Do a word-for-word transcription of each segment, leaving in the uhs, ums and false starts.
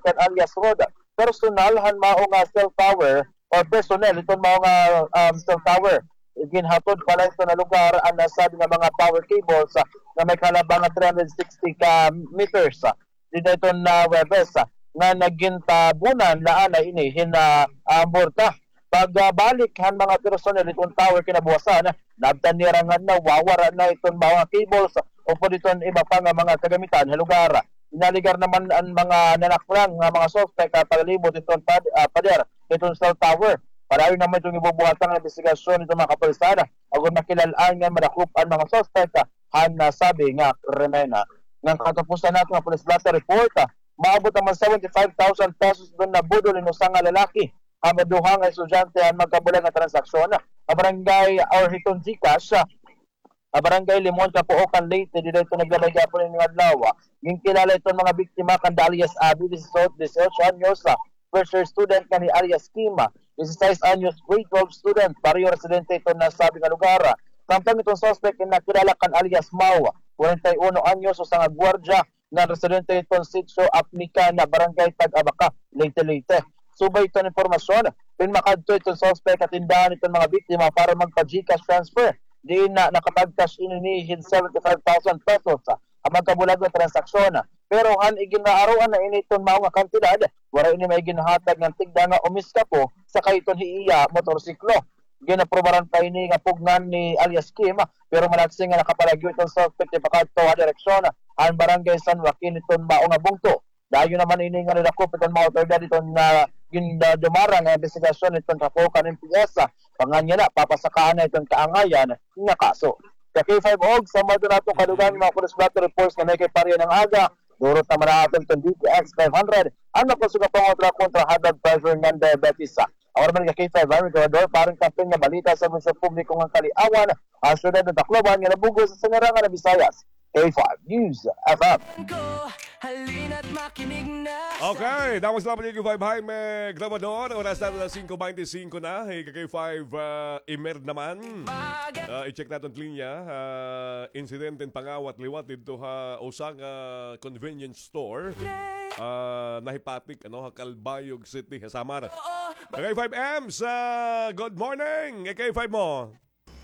kan alias Rod, personal han mao nga cell tower or personnel iton mao nga, um, cell tower. Ginhatod pa la iton nga lugar an nasabi nga mga power cables, ah, nga may kalaba nga three hundred sixty ka meters, ah, dida iton, ah, Huwebes, ah, nga nagintabunan la anay ini hin, ah, ah, burta. Pagbalik han mga personnel iton tower kinabuwasan, naabtan nira nga nawawara na iton mga cables upod iton iba pa nga mga kagamitan ha lugar. Inaligar naman an mga nanaklang nga mga suspek ha paglimot iton pad-, ah, pader iton cell tower. Padayon naman iton gibubuhatan nga imbestigasyon iton mga kapulisan agon makilal-an nga madakop an mga suspek han nasabi nga krimen. Ngan katapusan nato nga police blotter report, maabot naman seventy-five thousand pesos iton nabudol hin usa nga lalaki ha duha nga estudyante han magkabulag nga transaksyon ha barangay or hiton GCash, ha barangay Limon, Capoocan, Leyte, dida iton naglabay gihapon ini nga adlaw. Ginkilala iton mga biktima kanda alias Abby, dieciocho, dieciocho anyos, first year student, ngan hi alias Kim, dieciséis anyos, grade twelve student, pareho residente iton nasabi nga lugar. Samtang iton suspek nakilala kan alias Mau, kwarenta y uno anyos, usa nga gwardiya, nga residente iton Sitio Apmican, Barangay Tag-Abaca, Leyte, Leyte. Subay iton impormasyon, pinmakadto iton suspek ha tindahan iton mga biktima para magpa-GCash transfer. Diin na nakapag-cash in ini hin seventy-five thousand pesos ha magkabulag nga transaksyon. Pero han iginaaroan na ini iton mao nga kantidad, waray ini may ginhatag ngan tigda nga umiskapo sakay iton hi iya motorsiklo. Ginaprobaran pa ini nga pugngan ni alias Kim, pero malaksin nga nakapalagyo iton suspek pakadto ha direksyon han Barangay San Joaquin iton mao nga bungto. Dayon naman ini nga nadakop iton mga awtoridad iton nga gindadumara nga imbestigasyon iton Capoocan MPS. Pangan niya na, papasakaan na iton kaangayan nga kaso. Ka K five og, sa mga nato kadugang mga police blotter reports nga may kay pariya ng aga, durot naman na aton iton D T X five hundred, ang nakusog nga pangontra kontra high blood pressure ngan diabetes. Ako naman ka K five, Gobernador, parang kampiyon nga balita sa mga publiko nga kaliawan, ang syudad ng Tacloban nga nabugos sa sinirangan ng Visayas. K five News F M. Okay, that was lovely K five Jaime Grabador. Oras natin na singko beintisinko na. Hey, K five, ah, Imer naman. Ah, i-check natin linya. Ah, insidente in pangawat liwat dito ha usa nga convenience store. Ah, nahipatik, ano, ha Calbayog City, ha Samar. K five Ems, ah, good morning. K five mo.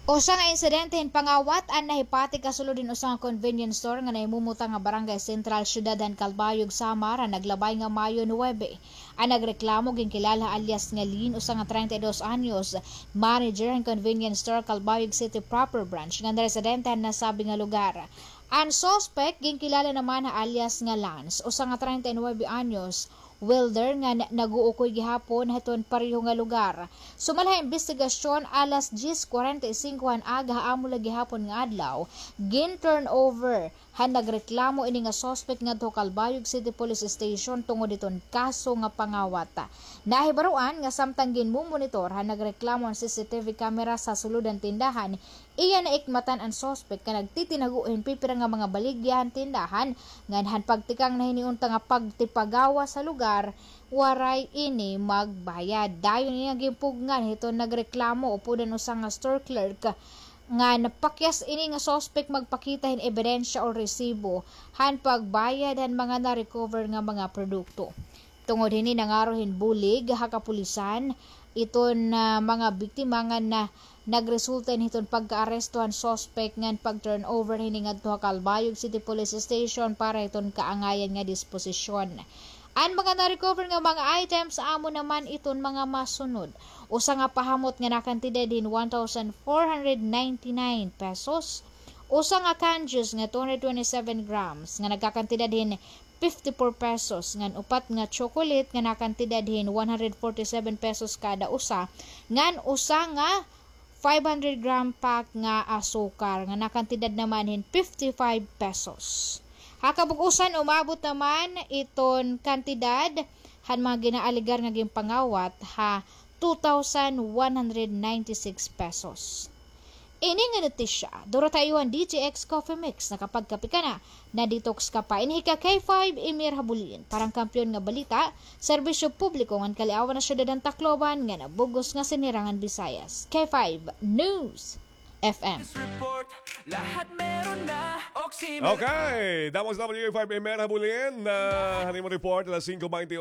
Usa nga insidente hin pangawat an nahipatik ha sulod hin usa nga convenience store nga nahimumuta nga Barangay Central, Syudad han Calbayog, Samar, han naglabay nga Mayo nuwebe. An nagreklamo ginkilala alias nga Lin, usa nga treinta y dos anyos, manager han convenience store, Calbayog City Proper Branch, ngan residente han nasabi nga lugar. An suspek ginkilala naman ha alias nga Lance, usa nga treinta y nuwebe anyos, welder nga na-, nag-uukoy gihapon hiton pareho nga lugar. Sumal ha imbestigasyon, alas diyes kwarenta y singko han aga ha amo la gihapon nga adlaw, gin-turnover han nagreklamo ini nga suspek ngadto ha Calbayog City Police Station tungod hiton kaso nga pangawat. Nahibaroan nga samtang ginmumonitor han nagreklamo an C C T V camera sa sulod han tindahan, iya naikmatan an suspek nga nagtitinago hin pipira nga mga baligya han tindahan, ngan han pagtikang na hini unta nga pagtipagawas sa lugar, waray ini magbayad. Dayon ini nga ginpugngan hiton nagreklamo upod an usa nga store clerk nga napakyas ini nga suspek magpakita hin ebidensya o resibo han pagbayad han mga na-recover nga mga produkto. Tungod hini, nangaro hin bulig ha kapulisan iton, ah, mga biktima ngan nagresulta ini hiton pagkaaresto han suspek ngan pag-turnover hini ngadto ha Calbayog City Police Station para hiton kaangayan nga disposisyon. An mga na-recover nga mga items amo naman iton mga masunod: usa nga pahamot nga nakantidad hin one thousand four hundred ninety-nine pesos, usa nga candies nga two hundred twenty-seven grams nga nagkakantidad hin fifty-four pesos, ngan upat nga chocolate nga nakantidad hin one hundred forty-seven pesos kada usa, ngan usa nga five hundred gram pack nga asukar nga nakantidad naman hin fifty-five pesos. Ha kabug-usan, umabot naman iton kantidad han mga ginaalegar nga ginpangawat ha two thousand one hundred ninety-six pesos. Ini nga notisya, duro ta iyo han D T X Coffee Mix, nakapagkape ka na, na-detox ka pa. Ini hi ka K five Emir Habulin, para han kampiyon nga balita, serbisyo publiko ngan kaliawan ha syudad han Tacloban, ngan ha bug-os nga sinirangan Visayas. K five News F M. Okay, that was W K five Emir Habulin, ah, han imo report, alas singko beinti